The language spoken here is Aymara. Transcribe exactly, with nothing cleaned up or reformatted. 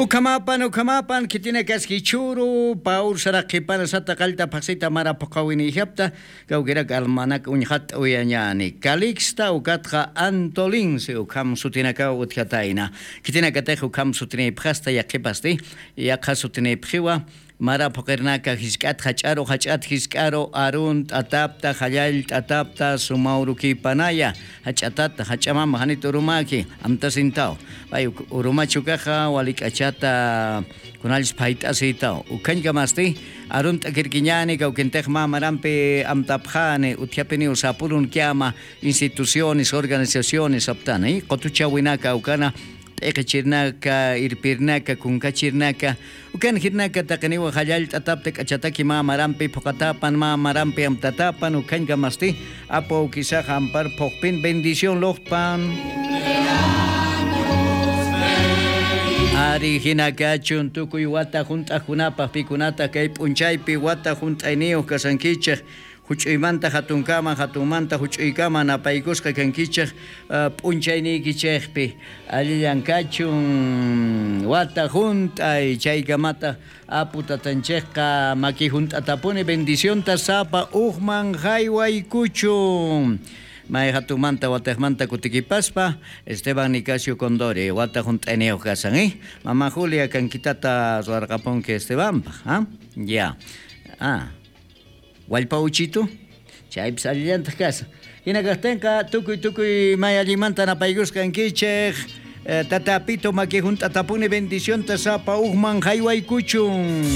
Ukhamapan ukhamapan khitinakaski chhuru pawr saraq qhipana sata qallta phaqsita mara phuqhawinïjapta. Kawkirak almanak uñxat'uyañäni calixta ukatxa antolince ukham sutinakaw utjatayna. Khitinakatix ukham sutinïpxasta yaqhipasti yaqha sutinïpxiwa. Mara phuqirnaka jisk'at jach'aru jach'at jisk'aru arunt'atapta jallallt'atapta suma urukipanaya. Jach'atat jach'amam janit urumäki amtasintaw. Pay urumach ukaxa walik'achata kunallchis phayt'asïtaw ukhañkamasti. Arunt'akirkiñäni kawkintix mä marampi amtapxäni utjapiniw sapurunkiama. Instituciones organizaciones aptani qutuchawinaka ukana p'iqichirnaka irpirnaka kunkachirnaka. Ukan jirnaka taqiniwa jallallt'atapta k'achataki mä marampi phuqatapan mä marampi amtatapan ukhañkamasti. Apu awkisaxa ampar phuqpin bendición luqtpan. Ari jinakachun tukuy wata junt'aqkunapax pikunata kay p'unchaypi wata junt'ayniyux kasankichix. Juch'uymanta jatunkama jatunmanta juch'uykama napaykusqa kankichix p'unchayniykichixpi. Allillan kachun wata junt'ay chaykamata apu tatanchixqa maki junt'atapuni bendicionta sapa ujman jaywaykuchun. May jatunmanta watixmanta kutikipaspa esteban nicasio condori wata junt'ayniyux kasan. Mama julia kankitata ruwarqapunki estebanpax. Ya. Wallpa uchitu. Chaypis allillantaq kasa. Jina kaqtinqa tukuy tukuy may allinmanta napaykusqankichik. Tata apitu maki junt'atapuni bendicionta sapa ujman jaywaykuchun.